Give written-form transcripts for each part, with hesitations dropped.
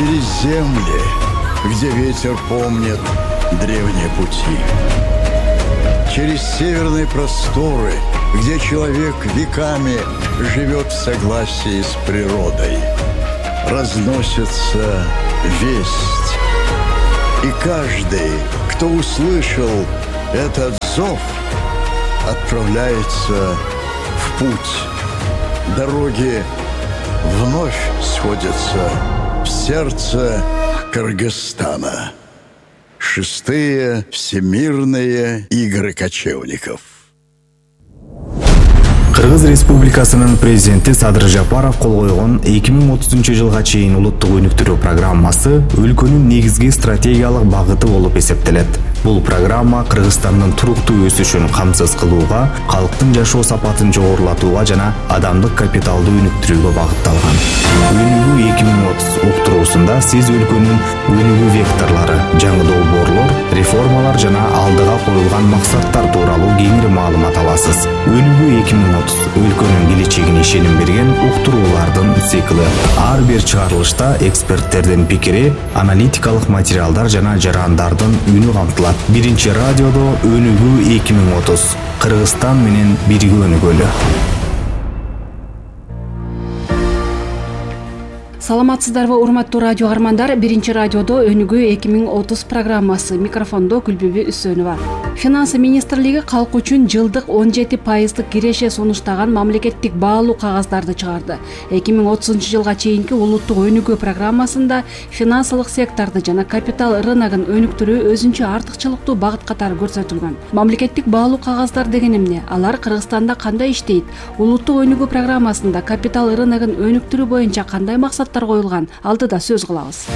через земли, где ветер помнит древние пути. Через северные просторы, где человек веками живет в согласии с природой. Разносится весть. И каждый, кто услышал этот зов, отправляется в путь. Дороги вновь сходятся в сердце Кыргызстана. 6-е Всемирные игры кочевников. Кыргыз Республикасынын президенти Садыр Жапаров кол койгон 2030-жылга чейин улуттук өнүктүрүү программасы өлкөнүн негизги стратегиялык багыты болуп эсептелет. Бул программа Кыргызстандын туруктуу өсүшүн камсыз кылууга, калктын жашоо сапатын жогорулатууга жана адамдык капиталды өнүктүрүүгө багытталган. Өнүгүү 2030 уктуруусунда сиз өлкөнүн өнүгүү векторлору, жаңы долбоорлор, реформалар жана алдыга коюлган максаттар тууралуу кеңири маалымат аласыз. Өнүгүү 2030 өлкөнүн келечегине ишеним берген уктуруулардын цикли. Ар бир чыгарылышта эксперттердин пикири, аналитикалык материалдар жана жарандардын үнү камтылат. Биринчи радиодо Өнүгүү 2030. Кыргызстан менен бирге өнүгөлү. Саламатсыздарбы, урматтуу радио армандар. Биринчи радиодо Өнүгүү 2030 программасы. Микрофондо Күлбүбү Үсөнова. Финансы министрлиги калк үчүн жылдык 17% киреше сунуштаган мамлекеттик баалуу кагаздарды чыгарды. 2030-жылга чейинки улуттук өнүгүү программасында финансылык секторду жана капитал рыногун өнүктүрүү өзүнчө артыкчылыктуу багыт катары көрсөтүлгөн. Мамлекеттик баалуу кагаздар деген эмне? Алар Кыргызстанда кандай иштейт? Улуттук өнүгүү программасында капитал рыногун өнүктүрүү боюнча кандай максаттар коюлган? Алдыда сөз кылабыз.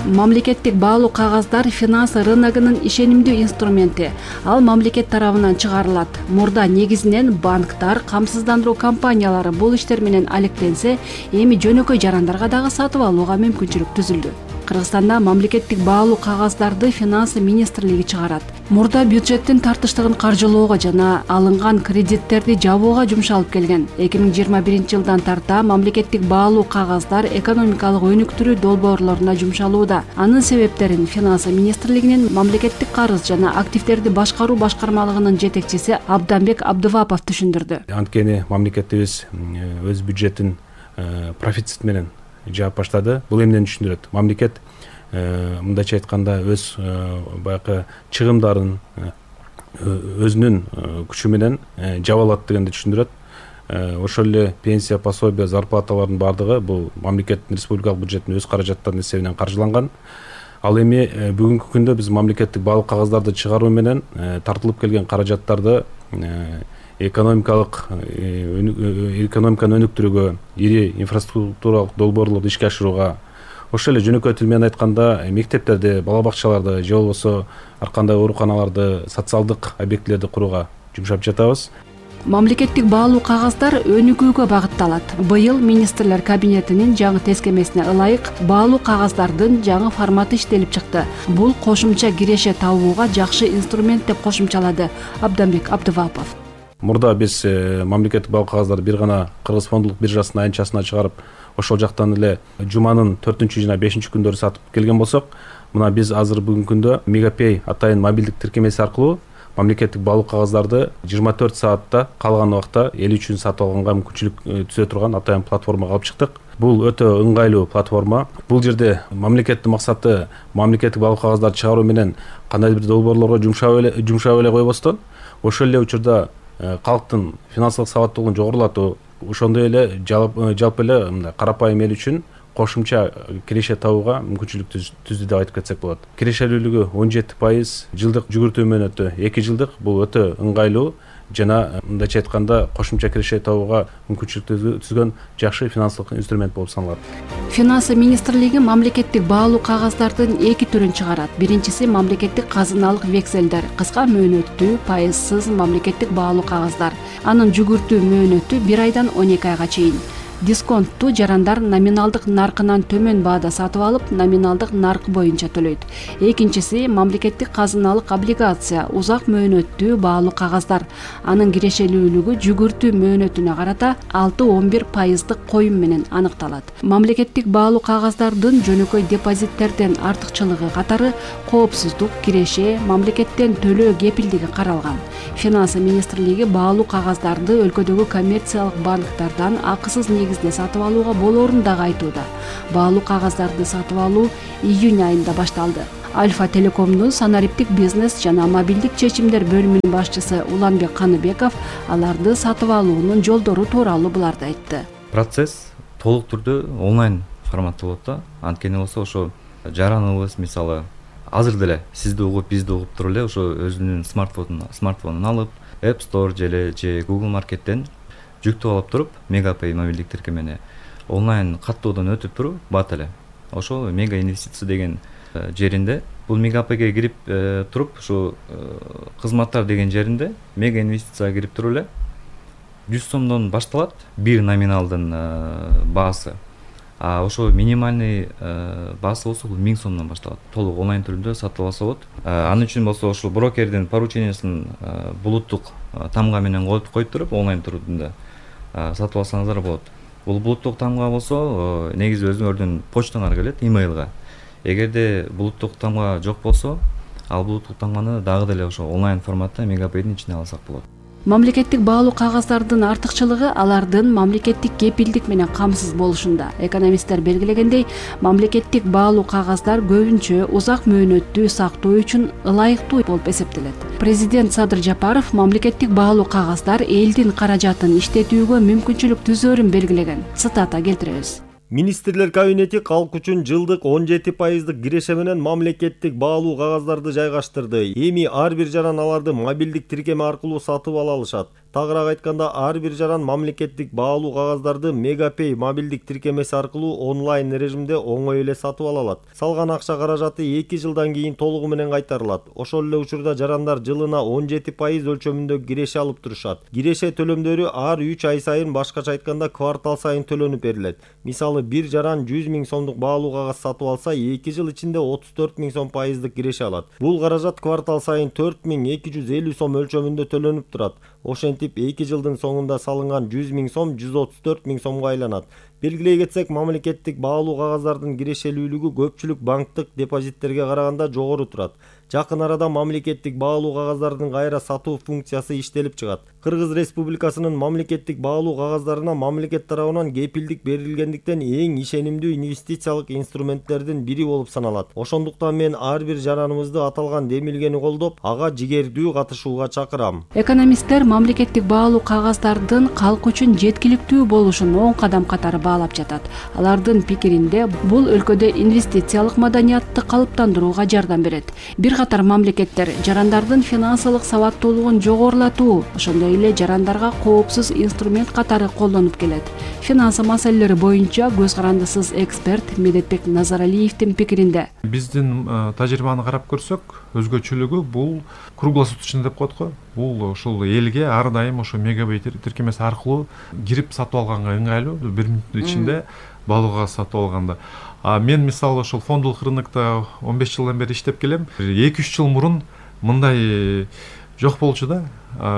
Мамлекеттик баалуу кагаздар финансы рыногунун ишенимдүү инструменти. Ал мамлекет тарабынан чыгарылат. Мурда негизинен банктар, камсыздандыруу компаниялары бул иштер менен алектенсе, эми жөнөкөй жарандарга дагы сатып алууга мүмкүнчүлүк түзүлдү. Кыргызстанда мамлекеттик баалуу кагаздарды финансы министрлиги чыгарат. Мурда бюджеттин тартыштыгын каржылоого жана алынган кредиттерди жабууга жумшалып келген. 2021-жылдан тарта мамлекеттик баалуу кагаздар экономикалык өнүктүрүү долбоорлоруна жумшалууда. Анын себептерин финансы министрлигинин мамлекеттик карыз жана активдерди башкаруу башкармалыгынын жетекчиси Абданбек Абдывапов түшүндүрдү. Анткени мамлекетибиз өз бюджетин профицит менен жаап баштады. Бул эмнени түшүндүрөт? Мамлекет мындайча айтканда өз баягы чыгымдарын өзүнүн күчү менен жаба алат дегенди түшүндүрөт. Ошол эле пенсия, пособия, зарплаталардын бардыгы бул мамлекеттин республикалык бюджеттин өз каражаттарынын эсебинен каржыланган. Ал эми бүгүнкү күндө биз мамлекеттик баалуу кагаздарды чыгаруу менен тартылып келген каражаттарды экономиканы өнүктүрүүгө, ири инфраструктуралык долбоорлорду ишке ашырууга, ошол эле жөнөкөй тил менен айтканда мектептерди, бала бакчаларды же болбосо ар кандай ооруканаларды, социалдык объектилерди курууга жумшап жатабыз. Мамлекеттик баалуу кагаздар өнүгүүгө багытталат. Быйыл министрлер кабинетинин жаңы тескемесине ылайык баалуу кагаздардын жаңы форматы иштелип чыкты. Бул кошумча киреше табууга жакшы инструмент деп кошумчалады Абданбек Абдывапов. Мурда биз мамлекеттик баалуу кагаздарды бир гана Кыргыз фондулук биржасына айнчасына чыгарып, ошол жактан эле жуманын 4-чү жана 5-чү күндөрү сатып келген болсок, мына биз азыр бүгүнкү күндө Мегапей атайын мобилдик тиркемеси аркылуу мамлекеттик баалуу кагаздарды 24 саатта калган убакта эл үчүн сатып алганга мүмкүнчүлүк түзө турган атайын платформага алып чыктык. Бул өтө ыңгайлуу платформа. Бул жерде мамлекеттин максаты мамлекеттик баалуу кагаздарды чыгаруу менен кандайдыр бир долбоорлорго жумшап эле койбостон, ошол эле учурда калктын финансылык сабаттуулугун жогорулатуу, ошондой эле жалпы эле мындай карапайым эл үчүн кошумча киреше табууга мүмкүнчүлүк түздү деп айтып кетсек болот. Кирешелүүлүгү 17%, жылдык жүгүртүү мөөнөтү 2 жылдык. Бул өтө ыңгайлуу жана мындайча айтканда кошумча киреше табууга мүмкүнчүлүк түзгөн жакшы финансылык инструмент болуп саналат. Финансы министрлиги мамлекеттик баалуу кагаздардын 2 түрүн чыгарат. Биринчиси мамлекеттик казыналык векселдер, кыска мөөнөттүү, пайызсыз мамлекеттик баалуу кагаздар. Анын жүгүртүү мөөнөтү 1 айдан 12 айга чейин. Дисконтту жарандар номиналдык наркынан төмөн баада сатып алып, номиналдык наркы боюнча төлөйт. Экинчиси мамлекеттик казыналык облигация, узак мөөнөттүү баалуу кагаздар. Анын кирешелүүлүгү жүгүртүү мөөнөтүнө карата 6-11% коюм менен аныкталат. Мамлекеттик баалуу кагаздардын жөнөкөй депозиттерден артыкчылыгы катары коопсуздук, киреше, мамлекеттен төлөө кепилдиги каралган. Финансы министрлиги баалуу кагаздарды өлкөдөгү коммерциялык банктардан акысыз негизде сатып алууга болоорун дагы айтууда. Баалуу кагаздарды сатып алуу июнь айында башталды. Альфа Телекомдун санариптик бизнес жана мобилдик чечимдер бөлүмүнүн башчысы Уланбек Каныбеков аларды сатып алуунун жолдору тууралуу буларды айтты. Процесс толук түрдө онлайн форматта болот да. Анткени болсо ошо жараныбыз мисалы азыр деле сизди угуп, бизди угуп туруп эле ошо өзүнүн смартфонун алып, App Store же Google Market'тен жүктөп алып туруп, Мегапэй мобилдик тиркемени онлайн каттоодон өтүп туруп бат эле. Ошо Мега инвестиция деген жеринде, бул Мегапэйге кирип туруп, ошо кызматтар деген жеринде Мега инвестицияга кирип туруп эле 100 сомдон башталат бир номиналдын баасы. Ошо минимальный баасы болсо бул 1000 сомдон башталат. Толук онлайн түрүндө сатып алса болот. Анын үчүн болсо ошол брокердин поручениясын булуттук тамга менен коюп туруп онлайн түрүндө сатып алсаңыздар болот. Бул булуттук тамга болсо негизи өзүңөрдүн почтаңарга келет, имейлга. Эгерде булуттук тамга жок болсо, ал булуттук тамганы дагы деле ошо онлайн форматта Мегапэйдин ичине алсак болот. Мамлекеттик баалуу кагаздардын артыкчылыгы алардын мамлекеттик кепилдик менен камсыз болушунда. Экономисттер белгилегендей, мамлекеттик баалуу кагаздар көбүнчө узак мөөнөттүү сактоо үчүн ылайыктуу болуп эсептелет. Президент Садыр Жапаров мамлекеттик баалуу кагаздар элдин каражатын иштетүүгө мүмкүнчүлүк түзөөрүн белгилеген. Цитата келтиребиз. Министрлер кабинети калк үчүн жылдык 17% киреше менен мамлекеттик баалуу кагаздарды жайгаштырды. Эми ар бир жаран аларды мобилдик тиркеме аркылуу сатып ала алышат. Тагыраак айтканда, ар бир жаран мамлекеттик баалуу кагаздарды Мегапэй мобилдик тиркемеси аркылуу онлайн режимде оңой эле сатып ала алат. Салган акча каражаты 2 жылдан кийин толугу менен кайтарылат. Ошол эле учурда жарандар жылына 17% өлчөмүндө киреше алып турушат. Киреше төлөмдөрү ар 3 ай сайын, башкача айтканда квартал сайын төлөнүп берилет. Мисалы бир жаран 100 000 сомдук баалуу кагаз сатып алса, 2 жыл ичинде 34 000 сом пайыздык киреше алат. Бул каражат квартал сайын 4250 сом өлчөмүндө төлөнүп турат. Ошентип 2 жылдын соңунда салынган 100 000 сом 134 000 сомго айланат. Белгилей кетсек, мамлекеттик баалуу кагаздардын кирешелүүлүгү көпчүлүк банктык депозиттерге караганда жогору турат. Жакын арада мамлекеттик баалуу кагаздардын кайра сатуу функциясы иштелип чыгат. Кыргыз Республикасынын мамлекеттик баалуу кагаздарына мамлекет тарабынан кепилдик берилгендиктен эң ишенимдүү инвестициялык инструменттердин бири болуп саналат. Ошондуктан мен ар бир жараныбызды аталган демилгени колдоп, ага жигердүү катышууга чакырам. Экономисттер мамлекеттик баалуу кагаздардын калк үчүн жеткиликтүү болушун оң кадам катары баалап жатат. Алардын пикиринде бул өлкөдө инвестициялык маданиятты калыптандырууга жардам берет. Бир катар мамлекеттер жарандардын финансылык сабаттуулугун жогорулатуу, ошондой эле жарандарга коопсуз инструмент катары колдонуп келет. Финансы маселелери боюнча көз карандысыз эксперт Медетбек Назаралиевдин пикиринде, биздин тажрыйбаны карап көрсөк, өзгөчөлүгү бул круглосуточный деп коет го. Бул ушул элге ар дайым ошо Мегапэй тиркемеси аркылуу кирип сатып алганга ыңгайлуу, 1 мүнөттүн ичинде баалуу кагаз сатып алганда. Мен мисалы ошол фондулук рынокто 15 жылдан бери иштеп келем. 2-3 жыл мурун мындай жок болчу да.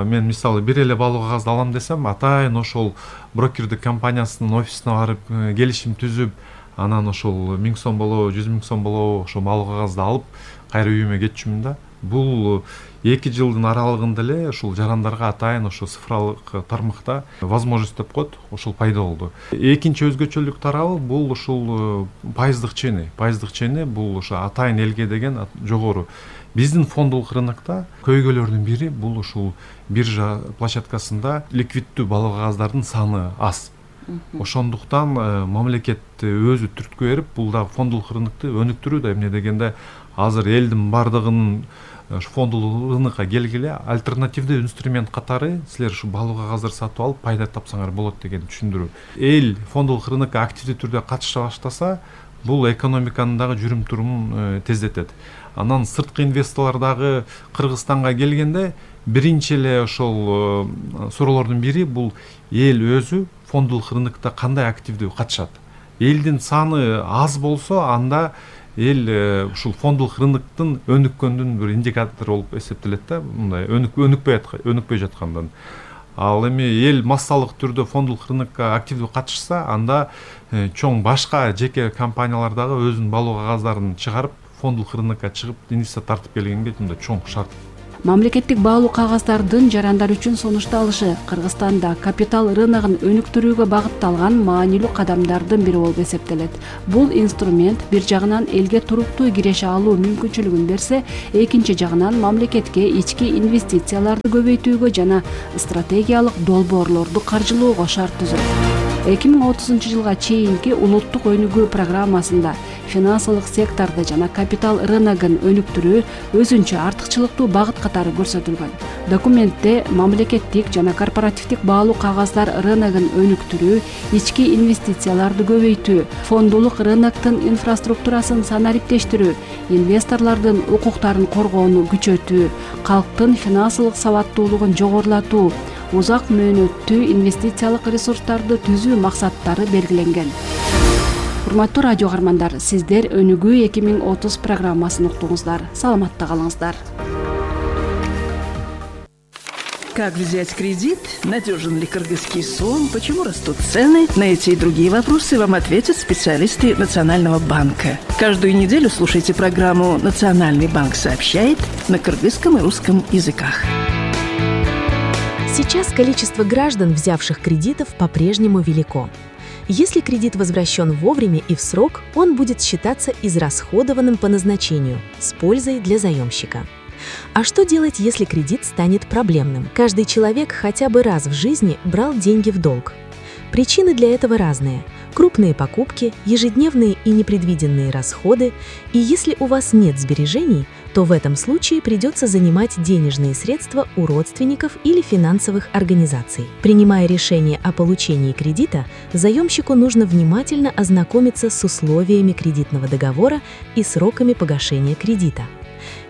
Мен мисалы бир эле баалуу кагазды алам десем, атайын ошол брокердик компаниясынын офисине барып келишим түзүп, анан ошол 1000 сом болобу, 100 000 сом болобу ошол баалуу кагазды алып кайра үйүмө кетчүмүн да. Бул 2 жылдын аралыгында эле ушул жарандарга атайын ошо цифралык тармакта возможность деп коет, ошол пайда болду. Экинчи өзгөчөлүк тарабы бул ушул пайыздык чени. Пайыздык чени бул ошо атайын элге деген жогору. Биздин фондулук рынокто көйгөйлөрдүн бири бул ушул биржа площадкасында ликвиддүү баалуу кагаздардын саны аз. Ошондуктан мамлекет өзү түрткү берип, бул да фондулук рынокто өнүктүрүүдө, эмне дегенде азыр элдин бардыгынын фондулук рынокко келгиле альтернативдүү инструмент катары силер ушу баалуу кагаздар сатып алып пайда тапсаңар болот деген түшүндүрүү. Эл фондулук рынокко активдүү түрдө катыша баштаса, бул экономиканын дагы жүрүм турумун тездетет. Анан сырткы инвесторлор дагы Кыргызстанга келгенде биринчи эле ошол суроолордун бири бул эл өзү фондулук рынокто кандай активдүү катышат. Элдин саны аз болсо анда эл ушул фондулук рыноктун өнүккөндүн бир индикатору болуп эсептелет да, мындай өнүкпөй жаткандан. Ал эми эл массалык түрдө фондулук рынокко активдүү катышса, анда чоң башка жеке компаниялар дагы өзүнүн балуу кагаздарын чыгарып фондулук рынокко чыгып инвестиция тартып келгенге мындай чоң шарт. Мамлекеттик баалуу кагаздардын жарандар үчүн сунушталышы Кыргызстанда капитал рыногун өнүктүрүүгө багытталган маанилүү кадамдардын бири болуп эсептелет. Бул инструмент бир жагынан элге туруктуу киреше алуу мүмкүнчүлүгүн берсе, экинчи жагынан мамлекетке ички инвестицияларды көбөйтүүгө жана стратегиялык долбоорлорду каржылоого шарт түзөт. 2030 жылга чейинки улуттук өнүгүү программасында финансылык секторду жана капитал рыногун өнүктүрүү өзүнчө артыкчылыктуу багыт катары көрсөтүлгөн. Документте мамлекеттик жана корпоративдик баалуу кагаздар рыногун өнүктүрүү, ички инвестицияларды көбөйтүү, фондулук рыноктун инфраструктурасын санариптештирүү, инвесторлордун укуктарын коргоону күчөтүү, калктын финансылык сабаттуулугун жогорулатуу, узак мөөнөттүү инвестициялык ресурстарды түзүү максаттары белгиленген. Урматтуу радио каармандар, сиздер Өнүгүү 2030 программасын уктуңуздар. Саламатта калыңыздар. Как взять кредит? Надежен ли кыргызский сом? Почему растут цены? На эти и другие вопросы вам ответят специалисты Национального банка. Каждую неделю слушайте программу «Национальный банк сообщает» на кыргызском и русском языках. Сейчас количество граждан, взявших кредитов, по-прежнему велико. Если кредит возвращен вовремя и в срок, он будет считаться израсходованным по назначению, с пользой для заемщика. А что делать, если кредит станет проблемным? Каждый человек хотя бы раз в жизни брал деньги в долг. Причины для этого разные. Крупные покупки, ежедневные и непредвиденные расходы. И если у вас нет сбережений, то в этом случае придется занимать денежные средства у родственников или финансовых организаций. Принимая решение о получении кредита, заемщику нужно внимательно ознакомиться с условиями кредитного договора и сроками погашения кредита.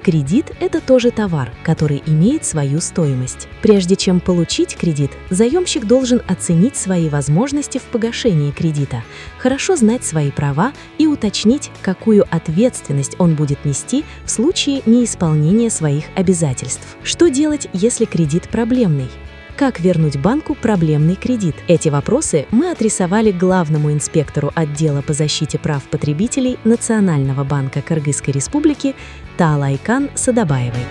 Кредит – это тоже товар, который имеет свою стоимость. Прежде чем получить кредит, заемщик должен оценить свои возможности в погашении кредита, хорошо знать свои права и уточнить, какую ответственность он будет нести в случае неисполнения своих обязательств. Что делать, если кредит проблемный? Как вернуть банку проблемный кредит? Эти вопросы мы адресовали главному инспектору отдела по защите прав потребителей Национального банка Кыргызской Республики Таалайкан Садабаевой.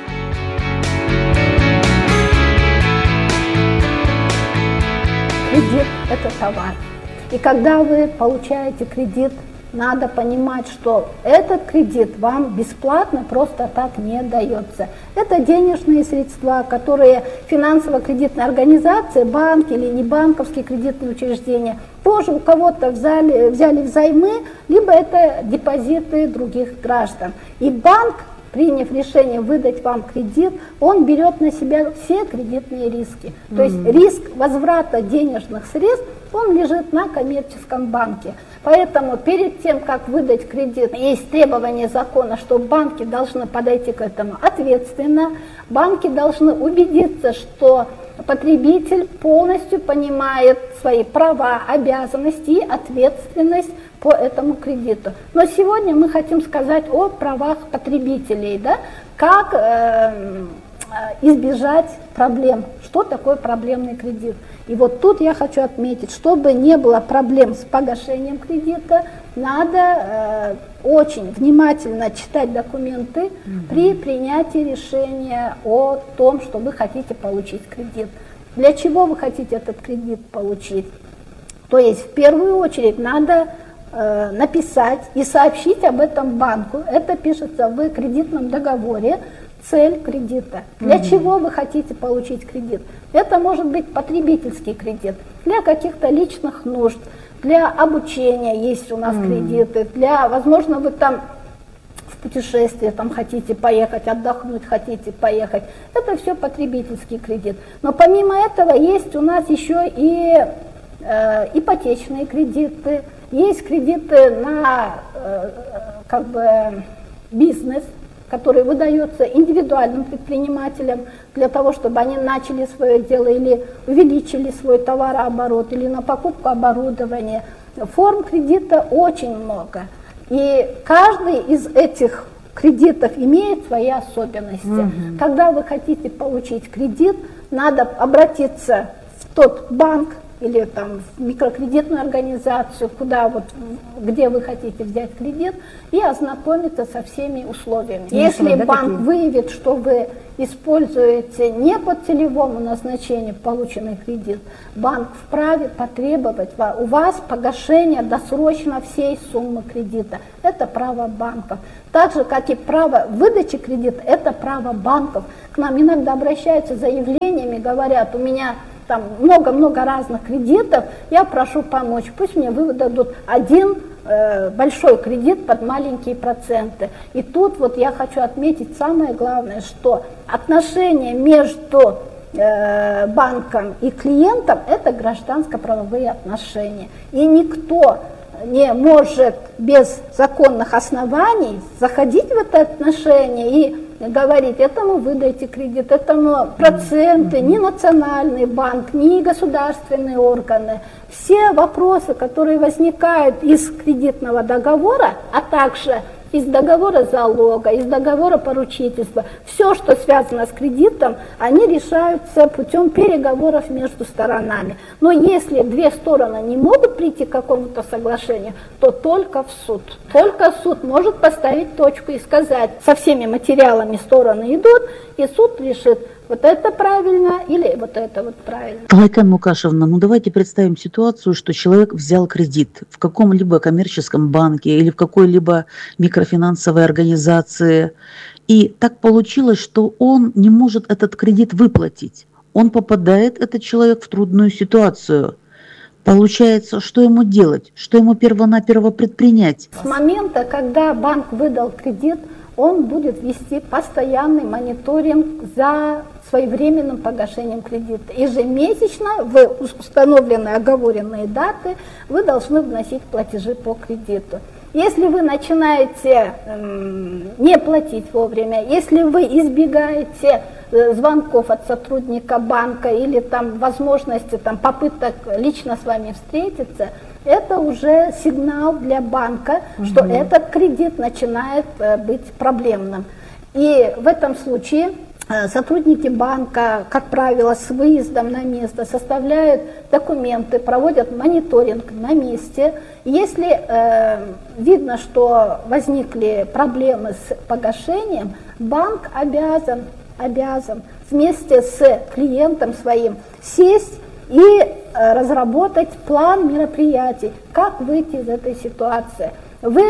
Кредит – это товар. И когда вы получаете кредит, надо понимать, что этот кредит вам бесплатно просто так не дается. Это денежные средства, которые финансово-кредитные организации, банки или небанковские кредитные учреждения тоже у кого-то взяли взаймы, либо это депозиты других граждан. И банк, приняв решение выдать вам кредит, он берет на себя все кредитные риски. То есть риск возврата денежных средств, он лежит на коммерческом банке. Поэтому перед тем, как выдать кредит, есть требование закона, что банки должны подойти к этому ответственно. Банки должны убедиться, что потребитель полностью понимает свои права, обязанности и ответственность по этому кредиту. Но сегодня мы хотим сказать о правах потребителей, да? Как избежать проблем, что такое проблемный кредит. И вот тут я хочу отметить, чтобы не было проблем с погашением кредита, надо очень внимательно читать документы при принятии решения о том, что вы хотите получить кредит. Для чего вы хотите этот кредит получить? То есть в первую очередь надо написать и сообщить об этом банку. Это пишется в кредитном договоре. Цель кредита. Для чего вы хотите получить кредит? Это может быть потребительский кредит, для каких-то личных нужд, для обучения есть у нас кредиты, для, возможно, вы там в путешествие там хотите поехать, отдохнуть хотите поехать. Это все потребительский кредит. Но помимо этого есть у нас еще и ипотечные кредиты, есть кредиты на бизнес, который выдается индивидуальным предпринимателям для того, чтобы они начали свое дело или увеличили свой товарооборот, или на покупку оборудования. Форм кредита очень много. И каждый из этих кредитов имеет свои особенности. Когда вы хотите получить кредит, надо обратиться в тот банк или там в микрокредитную организацию, где вы хотите взять кредит, и ознакомиться со всеми условиями. Если банк выявит, что вы используете не по целевому назначению полученный кредит, банк вправе потребовать у вас погашение досрочно всей суммы кредита. Это право банков. Так же, как и право выдачи кредита, это право банков. К нам иногда обращаются с заявлениями, говорят, у меня там много-много разных кредитов, я прошу помочь, пусть мне выдадут один большой кредит под маленькие проценты. И тут вот я хочу отметить самое главное, что отношения между банком и клиентом – это гражданско-правовые отношения. И никто не может без законных оснований заходить в это отношение и говорить, этому выдайте кредит, этому проценты, ни национальный банк, ни государственные органы. Все вопросы, которые возникают из кредитного договора, а также из договора залога, из договора поручительства, все, что связано с кредитом, они решаются путем переговоров между сторонами. Но если две стороны не могут прийти к какому-то соглашению, то только в суд. Только суд может поставить точку и сказать, со всеми материалами стороны идут, и суд решит, вот это правильно или вот это вот правильно. Гайкан Мукашевна, давайте представим ситуацию, что человек взял кредит в каком-либо коммерческом банке или в какой-либо микрофинансовой организации, и так получилось, что он не может этот кредит выплатить. Он попадает, этот человек, в трудную ситуацию. Получается, что ему делать? Что ему перво-наперво предпринять? С момента, когда банк выдал кредит, он будет вести постоянный мониторинг за своевременным погашением кредита. Ежемесячно в установленные оговоренные даты вы должны вносить платежи по кредиту. Если вы начинаете не платить вовремя, если вы избегаете звонков от сотрудника банка или там возможности попыток лично с вами встретиться, это уже сигнал для банка, что этот кредит начинает быть проблемным. И в этом случае сотрудники банка, как правило, с выездом на место составляют документы, проводят мониторинг на месте. Если видно, что возникли проблемы с погашением, банк обязан вместе с клиентом своим сесть и разработать план мероприятий, как выйти из этой ситуации. Вы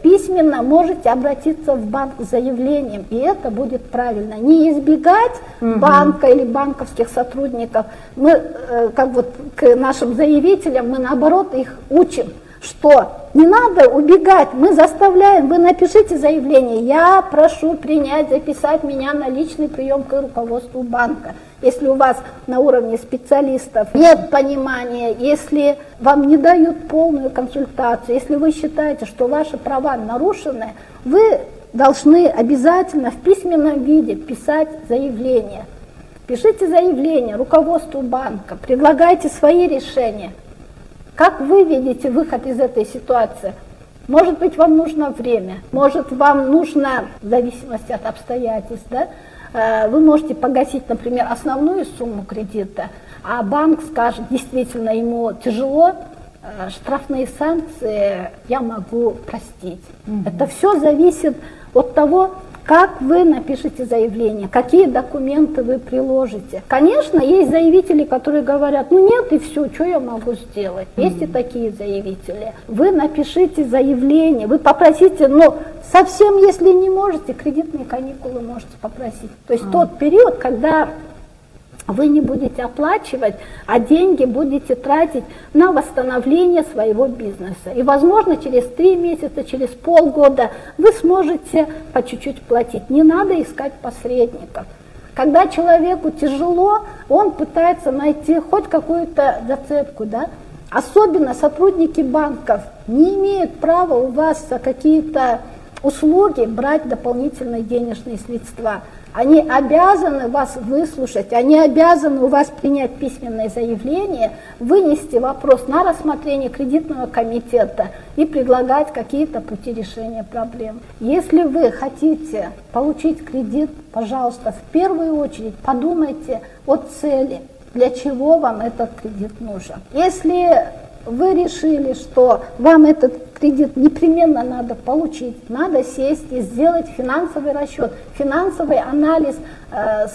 письменно можете обратиться в банк с заявлением, и это будет правильно. Не избегать банка или банковских сотрудников. Мы, к нашим заявителям, мы наоборот их учим, что не надо убегать, мы заставляем, вы напишите заявление, я прошу записать меня на личный прием к руководству банка. Если у вас на уровне специалистов нет понимания, если вам не дают полную консультацию, если вы считаете, что ваши права нарушены, вы должны обязательно в письменном виде писать заявление. Пишите заявление руководству банка, предлагайте свои решения. Как вы видите выход из этой ситуации? Может быть, вам нужно время, может, вам нужно, в зависимости от обстоятельств, вы можете погасить, например, основную сумму кредита, а банк скажет, действительно, ему тяжело, штрафные санкции я могу простить. Это все зависит от того, как вы напишете заявление, какие документы вы приложите. Конечно, есть заявители, которые говорят, нет и все, что я могу сделать. Есть и такие заявители. Вы напишите заявление, вы попросите, совсем если не можете, кредитные каникулы можете попросить. То есть тот период, когда вы не будете оплачивать, а деньги будете тратить на восстановление своего бизнеса. И, возможно, через 3 месяца, через полгода вы сможете по чуть-чуть платить. Не надо искать посредников. Когда человеку тяжело, он пытается найти хоть какую-то зацепку, Особенно сотрудники банков не имеют права у вас за какие-то услуги брать дополнительные денежные средства. Они обязаны вас выслушать, они обязаны у вас принять письменное заявление, вынести вопрос на рассмотрение кредитного комитета и предлагать какие-то пути решения проблем. Если вы хотите получить кредит, пожалуйста, в первую очередь подумайте о цели, для чего вам этот кредит нужен. Если вы решили, что вам этот кредит непременно надо получить, надо сесть и сделать финансовый расчет, финансовый анализ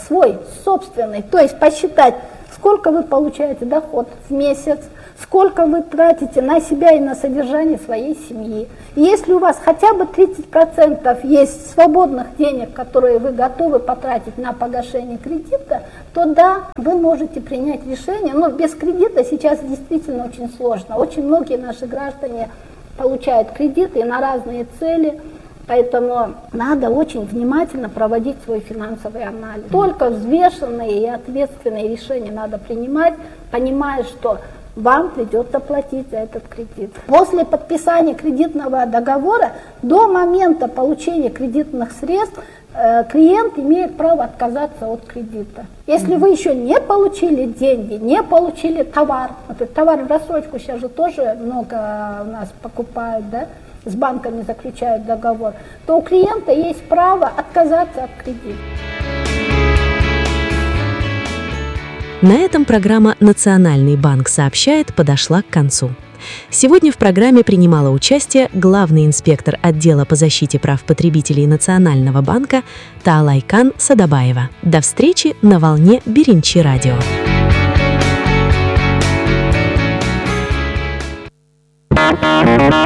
свой, собственный, то есть посчитать, сколько вы получаете доход в месяц, сколько вы тратите на себя и на содержание своей семьи. И если у вас хотя бы 30% есть свободных денег, которые вы готовы потратить на погашение кредита, то да, вы можете принять решение. Но без кредита сейчас действительно очень сложно. Очень многие наши граждане получают кредиты на разные цели. Поэтому надо очень внимательно проводить свой финансовый анализ. Только взвешенные и ответственные решения надо принимать, понимая, что вам придется платить за этот кредит. После подписания кредитного договора до момента получения кредитных средств клиент имеет право отказаться от кредита. Если вы еще не получили деньги, не получили товар, например, товар в рассрочку сейчас же тоже много у нас покупают, да, с банками заключают договор, то у клиента есть право отказаться от кредита. На этом программа «Национальный банк сообщает» подошла к концу. Сегодня в программе принимала участие главный инспектор отдела по защите прав потребителей Национального банка Таалайкан Садабаева. До встречи на волне Биринчи радио.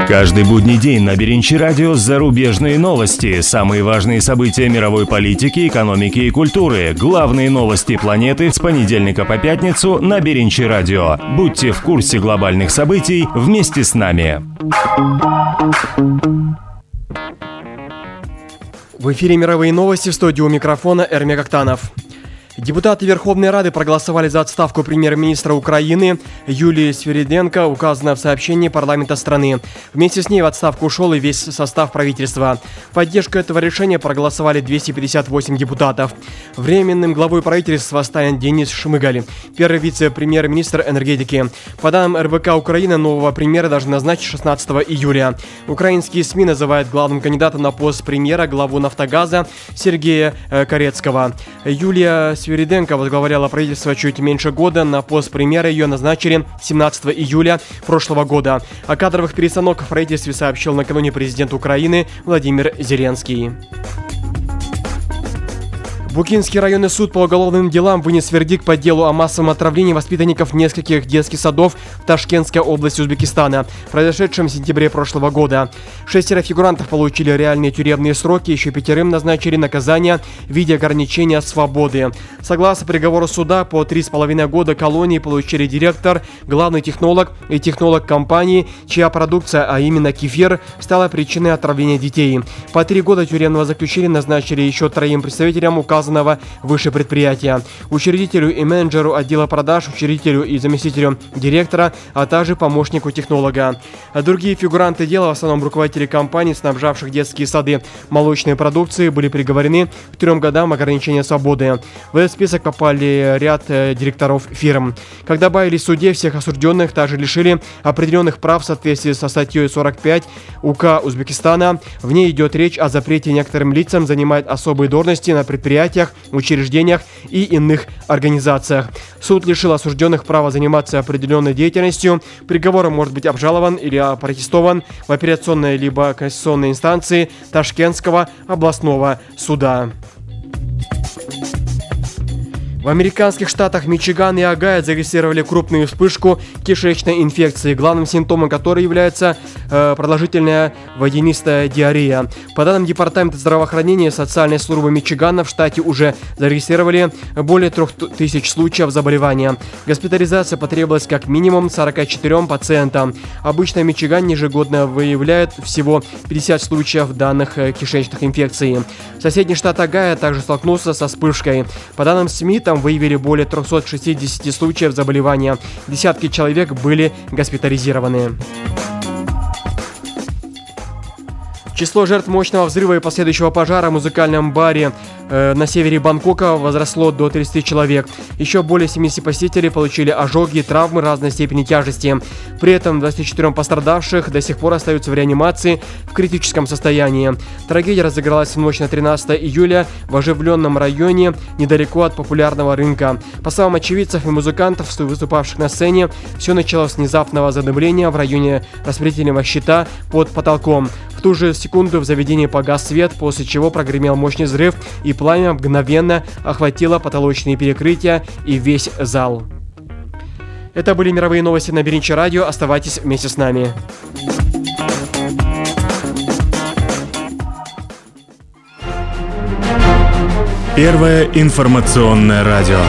Каждый будний день на Биринчи радио зарубежные новости, самые важные события мировой политики, экономики и культуры, главные новости планеты с понедельника по пятницу на Биринчи радио. Будьте в курсе глобальных событий вместе с нами. В эфире мировые новости, в студии у микрофона Эрмек Актанов. Депутаты Верховной Рады проголосовали за отставку премьер-министра Украины Юлии Свириденко, указано в сообщении парламента страны. Вместе с ней в отставку ушел и весь состав правительства. В поддержку этого решения проголосовали 258 депутатов. Временным главой правительства станет Денис Шмыгаль, первый вице-премьер-министр энергетики. По данным РБК Украины, нового премьера должны назначить 16 июля. Украинские СМИ называют главным кандидатом на пост премьера главу «Нафтогаза» Сергея Корецкого. Юлия Свириденко возглавляла правительство чуть меньше года. На пост премьера ее назначили 17 июля прошлого года. О кадровых перестановках в правительстве сообщил накануне президент Украины Владимир Зеленский. Букинский районный суд по уголовным делам вынес вердикт по делу о массовом отравлении воспитанников нескольких детских садов в Ташкентской области Узбекистана, произошедшем в сентябре прошлого года. 6 фигурантов получили реальные тюремные сроки, еще 5 назначили наказание в виде ограничения свободы. Согласно приговору суда, по 3,5 года колонии получили директор, главный технолог и технолог компании, чья продукция, а именно кефир, стала причиной отравления детей. По 3 года тюремного заключения назначили еще 3 представителям указанного выше предприятия, учредителю и менеджеру отдела продаж, учредителю и заместителю директора, а также помощнику технолога. Другие фигуранты дела, в основном руководители компаний, снабжавших детские сады молочной продукцией, были приговорены к 3 годам ограничения свободы. В этот список попали ряд директоров фирм. Как добавили в суде, всех осужденных также лишили определенных прав в соответствии со статьей 45 УК Узбекистана. В ней идет речь о запрете некоторым лицам занимать особые должности на предприятиях, учреждениях и иных организациях. Суд лишил осужденных права заниматься определенной деятельностью. Приговор может быть обжалован или опротестован в апелляционной либо кассационной инстанции Ташкентского областного суда. В американских штатах Мичиган и Огайо зарегистрировали крупную вспышку кишечной инфекции, главным симптомом которой является продолжительная водянистая диарея. По данным Департамента здравоохранения и социальной службы Мичигана, в штате уже зарегистрировали более 3000 случаев заболевания. Госпитализация потребовалась как минимум 44 пациентам. Обычно в Мичигане ежегодно выявляют всего 50 случаев данных кишечных инфекций. Соседний штат Огайо также столкнулся со вспышкой. По данным СМИ, там выявили более 360 случаев заболевания. Десятки человек были госпитализированы. Число жертв мощного взрыва и последующего пожара в музыкальном баре на севере Бангкока возросло до 30 человек. Еще более 70 посетителей получили ожоги и травмы разной степени тяжести. При этом 24 пострадавших до сих пор остаются в реанимации в критическом состоянии. Трагедия разыгралась в ночь на 13 июля в оживленном районе недалеко от популярного рынка. По словам очевидцев и музыкантов, выступавших на сцене, все началось с внезапного задымления в районе распределительного щита под потолком. В ту же секунду в заведении погас свет, после чего прогремел мощный взрыв, и пламя мгновенно охватило потолочные перекрытия и весь зал. Это были мировые новости на Беринчи радио. Оставайтесь вместе с нами. Первое информационное радио.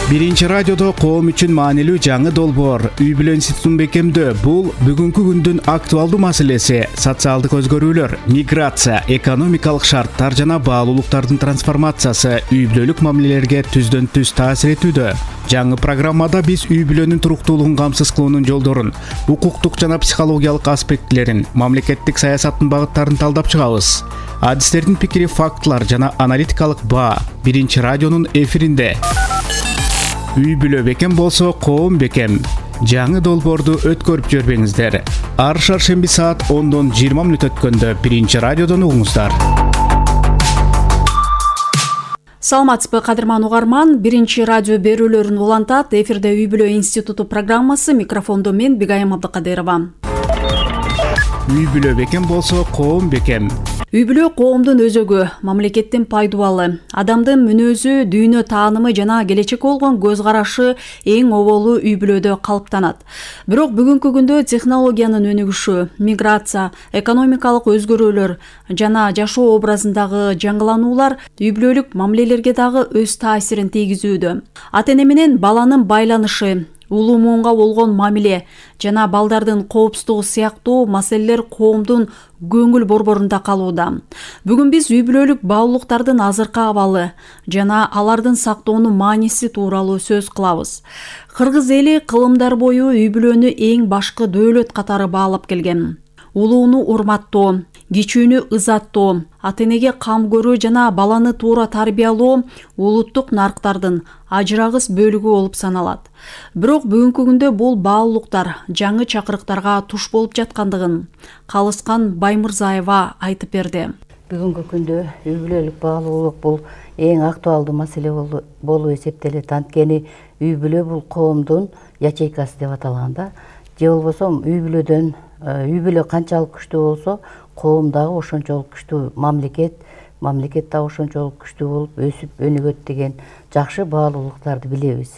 Биринчи радиодо коом үчүн маанилүү жаңы долбоор үй бүлө институтун бекемдөө. Бул бүгүнкү күндүн актуалдуу маселеси. Социалдык өзгөрүүлөр, миграция, экономикалык шарттар жана баалуулуктардын трансформациясы үй бүлөлүк мамилелерге түздөн түз таасир этүүдө. Жаңы программада биз үй бүлөнүн туруктуулугун камсыз кылуунун жолдорун, укуктук жана психологиялык аспектилерин, мамлекеттик саясаттын багыттарын талдап чыгабыз. Адистердин пикири, фактылар жана аналитикалык баа Биринчи радионун эфиринде. Үй бүлө бекем болсо коом бекем. Жаңы долбоорду өткөрүп жөрбөңүздөр. Ар шаршемби саат 10:20 өткөндө Биринчи радиодон угуңуздар. Саламатсызбы, кадырман угарман. Биринчи радио берүүлөрүн улантат. Эфирде үй бүлө институту программасы. Микрофондо мен Бигайым Абдыкадырова. Үй бүлө бекем болсо коом бекем. Үй бүлө коомдун өзөгү, мамлекеттин пайдубалы. Адамдын мүнөзү, дүйнө таанымы жана келечекке болгон көз карашы эң оболу үй бүлөдө калыптанат. Бирок бүгүнкү күндө технологиянын өнүгүшү, миграция, экономикалык өзгөрүүлөр жана жашоо образындагы жаңылануулар үй бүлөлүк мамилелерге дагы өз таасирин тийгизүүдө. Ата эне менен баланын байланышы, улуу муунга болгон мамиле жана балдардын коопсуздугу сыяктуу маселелер коомдун көңүл борборунда калууда. Бүгүн биз үй бүлөлүк баалуулуктардын азыркы абалы жана алардын сактоонун мааниси тууралуу сөз кылабыз. Кыргыз эли кылымдар бою үй бүлөнү эң башкы дөөлөт катары баалап келген. Улууну урматтоо, кичүүнү ызаттоо, ата энеге кам көрүү жана баланы туура тарбиялоо улуттук нарктардын ажырагыс бөлүгү болуп саналат. Бирок бүгүнкү күндө бул баалуулуктар жаңы чакырыктарга туш болуп жаткандыгын Калыскан Баймырзаева айтып берди. Бүгүнкү күндө үй бүлөлүк баалуулук бул эң актуалдуу маселе болуп эсептелет. Анткени үй бүлө бул коомдун ячейкасы деп аталганда, же болбосо үй бүлө канчалык күчтүү болсо, коом дагы ошончолук күчтүү, мамлекет дагы ошончолук күчтүү болуп өсүп өнүгөт деген жакшы баалуулуктарды билебиз.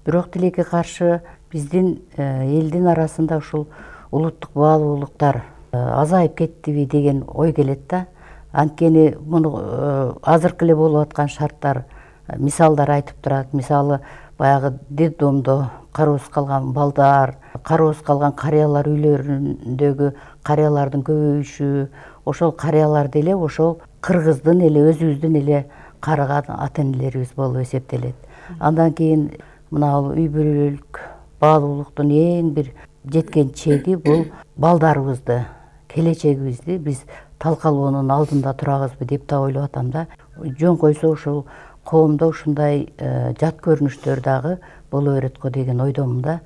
Бирок тилекке каршы биздин элдин арасында ушул улуттук баалуулуктар азайып кеттиби деген ой келет да. Анткени муну азыркы эле болуп аткан шарттар мисалдар айтып турат. Мисалы баягы детдомдо кароосуз калган балдар, кароосуз калган карыялар үйлөрүндөгү карыялардын көбөйүшү, ошол карыяларды эле ошол кыргыздын эле өзүбүздүн эле карыган ата энелерибиз болуп эсептелет. Андан кийин мына үй бүлөлүк баалуулуктун эң бир жеткен чеги бул балдарыбызды, келечегибизди биз талкалоонун алдында турабызбы деп да ойлоп атам да. Жөн койсо ушул коомдо ушундай жат көрүнүштөр дагы боло берет го деген ойдомун да.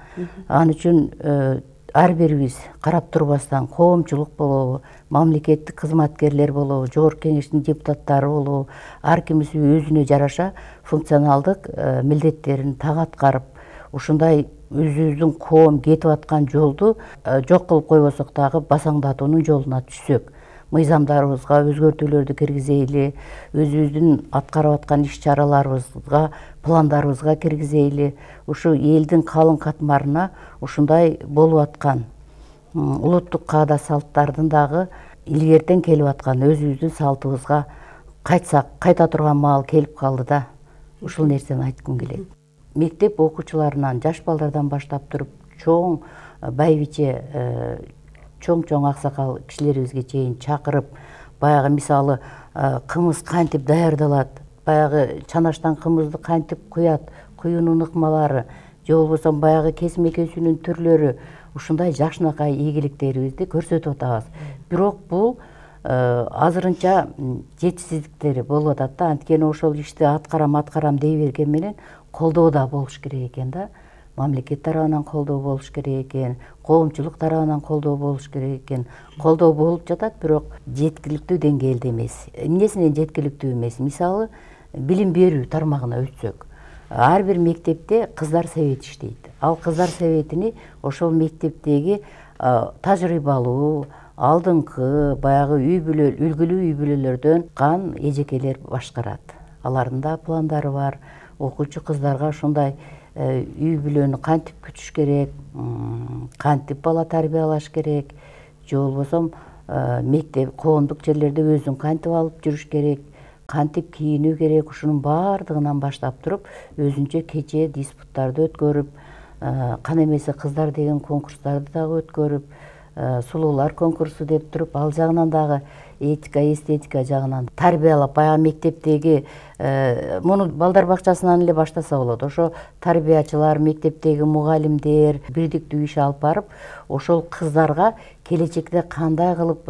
Ал үчүн ар бирибиз карап турбастан коомчулук болобу, мамлекеттик кызматкерлер болобу, жогорку кеңештин депутаттары болобу, ар кимиз өзүнө жараша функционалдык милдеттерин так аткарып, ушундай өзүбүздүн коом кетип аткан жолду жок кылып койбосок дагы басаңдатуунун жолуна түшсөк, мыйзамдарыбызга өзгөртүүлөрдү киргизейли, өзүбүздүн аткарып аткан иш-чараларыбызга, пландарыбызга киргизейли, ушу элдин калың катмарына ушундай болуп аткан улуттук каада салттардын дагы илгертен келип аткан өзүбүздүн салтыбызга кайтсак, кайта турган маал келип калды да. Ушул нерсени айткым келет. Мектеп окуучуларынан, жаш балдардан баштап туруп, чоң байбиче, чоң аксакал кишилерибизге чейин чакырып, баягы мисалы кымыз кантип даярдалат, баягы чанаштан кымызды кантип куят, куюунун ыкмалары, же болбосо баягы кесим экөөсүнүн түрлөрү ушундай жакшынакай ийгиликтерибизди көрсөтүп атабыз. Бирок бул азырынча жетишсиздиктери болуп атат да. Анткени ошол ишти аткарам дей берген менен колдоо да болуш керек экен да. Мамлекет тарабынан колдоо болуш керек экен, коомчулук тарабынан колдоо болуш керек экен. Колдоо болуп жатат, бирок жеткиликтүү деңгээлде эмес. Эмнесинен жеткиликтүү эмес? Мисалы, билим берүү тармагына өтсөк, ар бир мектепте кыздар совет иштейт. Ал кыздар советини ошол мектептеги тажрыйбалуу, алдыңкы баягы үлгүлүү үй бүлөлөрдөн чыккан эжекелер башкарат. Алардын да пландары бар. Окуучу кыздарга ушундай үй бүлөнү кантип күтүш керек, кантип бала тарбиялаш керек, же болбосо мектеп, коомдук жерлерде өзүн кантип алып жүрүш керек, кантип кийинүү керек, ушунун баардыгынан баштап туруп өзүнчө кече диспуттарды өткөрүп, кана эмесе кыздар деген конкурстарды дагы өткөрүп, сулуулар конкурсу деп туруп, ал жагынан дагы этика, эстетика жагынан тарбиялап, баягы мектептеги муну балдар бакчасынан эле баштаса болот. Ошо тарбиячылар, мектептеги мугалимдер бирдиктүү иш алып барып, ошол кыздарга келечекте кандай кылып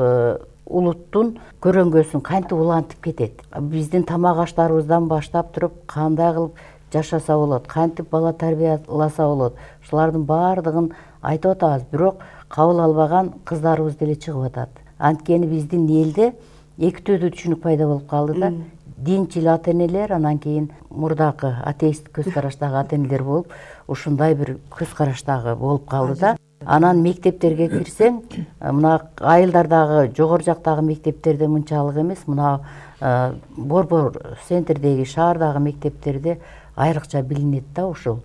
улуттун көрөңгөсүн кантип улантып кетет, биздин тамак аштарыбыздан баштап туруп кандай кылып жашаса болот, кантип бала тарбияласа болот, ушулардын баардыгын айтып атабыз. Бирок кабыл албаган кыздарыбыз деле чыгып атат. Анткени биздин элде эки түрдүү түшүнүк пайда болуп калды да. Динчил ата-энелер, анан кийин мурдакы атеист көз караштагы ата-энелер болуп, ушундай бир көз караштагы болуп калды да. Анан мектептерге кирсең, мына айылдардагы жогору жактагы мектептерде мынчалык эмес, мына борбор центрдеги шаардагы мектептерде айрыкча билинет да ушул.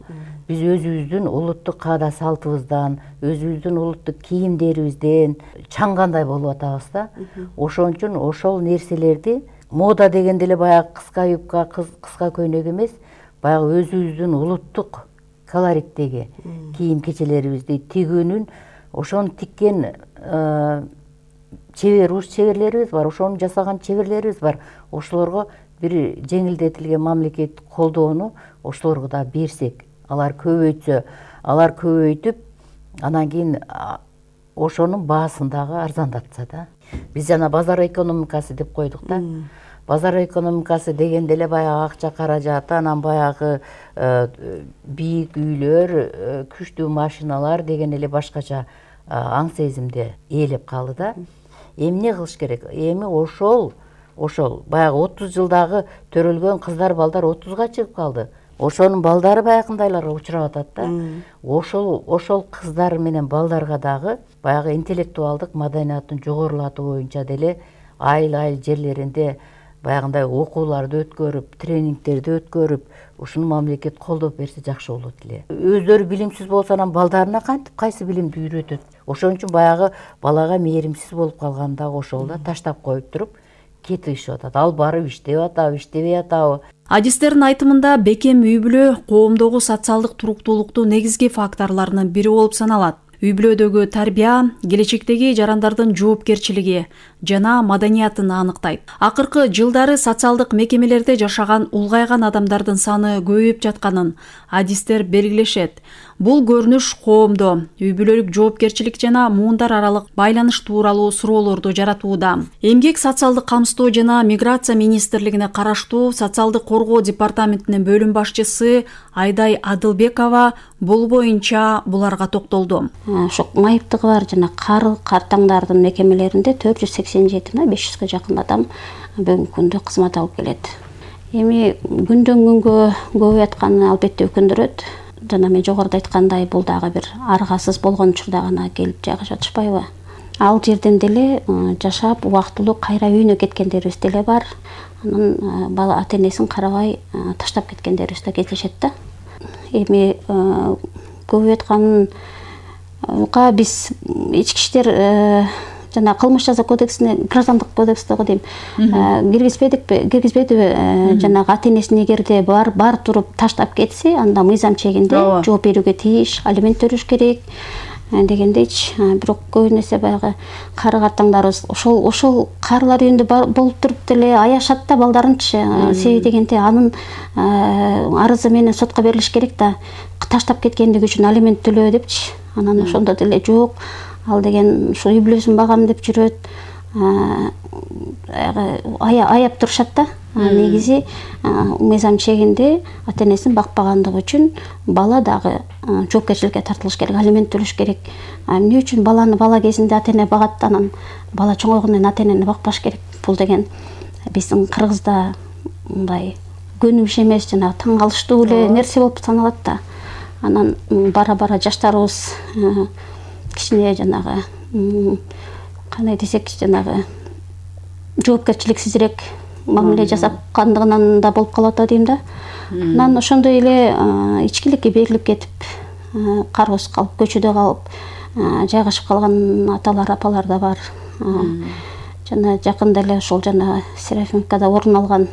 Биз өзүбүздүн улуттук каада салтыбыздан, өзүбүздүн улуттук кийимдерибизден чаңгандай болуп атабыз да. Ошон үчүн ошол нерселерди мода дегенде эле баягы кыска юбка, кыска көйнөк эмес, баягы өзүбүздүн улуттук колориттеги кийим кечелерибизди тигүүнүн, ошону тиккен чеберлерибиз бар, ошону жасаган чеберлерибиз бар. Ошолорго бир жеңилдетилген мамлекет колдоону ошолорго да берсек, алар көбөйтсө, алар көбөйтүп, анан кийин ошонун баасын дагы арзандатса да. Биз жана базар экономикасы деп койдук да. Базар экономикасы дегенде эле баягы акча каражаты, анан баягы бийик үйлөр, күчтүү машиналар деген эле башкача аң сезимде ээлеп калды да. Эмне кылыш керек? Эми ошол баягы 30 жылдагы төрөлгөн кыздар, балдар 30га чыгып калды. Ошонун балдары баягындайларга учурап атат да. Ошол кыздар менен балдарга дагы баягы интеллектуалдык маданиятын жогорулатуу боюнча деле айыл жерлеринде баягындай окууларды өткөрүп, тренингтерди өткөрүп, ушуну мамлекет колдоп берсе жакшы болот эле. Өздөрү билимсиз болсо, анан балдарына кантип кайсы билимди үйрөтөт? Ошон үчүн баягы балага мээримсиз болуп калганда ошол да таштап коюп туруп кетип ишип атат. Ал барып иштеп атабы, иштебей атабы. Адистердин айтымында бекем үй бүлө коомдогу социалдык туруктуулуктун негизги факторлорунун бири болуп саналат. Үй бүлөдөгү тарбия келечектеги жарандардын жоопкерчилиги жана маданиятын аныктайт. Акыркы жылдары социалдык мекемелерде жашаган улгайган адамдардын саны көбөйүп жатканын адистер белгилешет. Бул көрүнүш коомдо үй бүлөлүк жоопкерчилик жана муундар аралык байланыш тууралуу суроолорду жаратууда. Эмгек, социалдык камсыздоо жана миграция министрлигине караштуу социалдык коргоо департаментинин бөлүм башчысы Айдай Адылбекова бул боюнча буларга токтолду. Ошо майыптыгы бар жана картаңдардын мекемелеринде 487-500га жакын адам бүгүнкү күндө кызмат алып келет. Эми күндөн күнгө көбөйүп атканы албетте өкүндүрөт. Жана мен жогоруда айткандай, бул дагы бир аргасыз болгон учурда гана келип жайгашып атышпайбы? Ал жерден деле жашап убактылуу кайра үйүнө кеткендерибиз деле бар. Анан бала ата-энесин карабай таштап кеткендерибиз да кездешет да. Эми көбөйүп атканга биз ички иштер жана кылмыш жаза кодексине, граждандык кодекстеги дейм, киргизбедиби? Жанагы ата-энесин эгерде бар туруп таштап кетсе, анда мыйзам чегинде жооп берүүгө тийиш, алимент төлөш керек. дегендейчи. Бирок көбүнесе баягы кары картаңдарыбыз ошол карылар үйүндө болуп туруп деле аяшат да балдарынчы. Себеби дегенде анын арызы менен сотко берилиш керек да, таштап кеткендиги үчүн алимент төлөө депчи. Анан ошондо деле жок, ал деген ушу үй бүлөсүн багам деп жүрөт. Аяп турушат да. Негизи мыйзам чегинде ата энесин бакпагандыгы үчүн бала дагы жоопкерчиликке тартылыш керек, алимент төлөш керек. Эмне үчүн баланы бала кезинде ата эне багат, анан бала чоңойгондон кийин ата энени бакпаш керек? Бул деген биздин Кыргызда мындай көнүм иш эмес, жана таң калыштуу эле нерсе болуп саналат да. Анан бара жаштарыбыз кичине жанагы кандай десек, жанагы жоопкерчиликсизирээк мамиле жасапкандыгынан да болуп калат дейм да. Анан ошондой эле ичкиликке берилип кетип, кароосуз калып, көчөдө калып жайгашып калган аталар, апалар да бар. Жана жакында эле ошол жана Серафимовкада орун алган